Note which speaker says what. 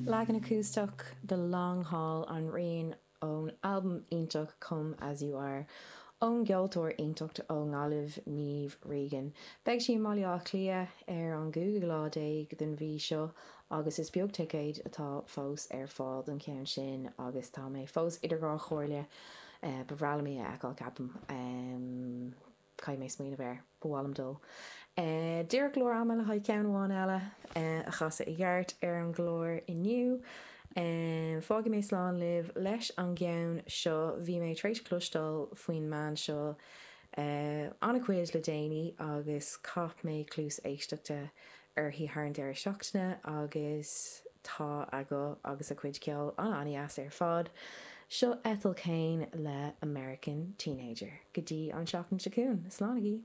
Speaker 1: Leagan acústach de Long Haul an Rian ón albam iontach Come As You Are ón gceoltóir iontach ó nGaillimh, Niamh Regan. Beidh sí i mBaile Átha Cliath ar an gcúigiú lá déag den mhí seo agus is beag ticéid atá fós ar fáil don cheann sin agus tá mé fós idir dhá chomhairle. Ba bhreá liom í a fheiceáil, ceapaim. Caithfidh mé smaoineamh air. Ba mhaith liom dul. Díreach go leor ama le haghaidh ceann amháin eile a chasadh i gceart ar an gclár inniu. Fágfaidh mé slán libh leis an gceann seo. Bhí mé tar éis cloisteáil faoin mbean seo an-chuid le déanaí agus chaith mé cluas éisteachta uirthi thar an deireadh seachtaine agus tá a guth agus a cuid ceoil an-an-deas ar fad. Seo Ethel Cain le American Teenager. Go dtí an tseachtain seo chugainn, slánaigí!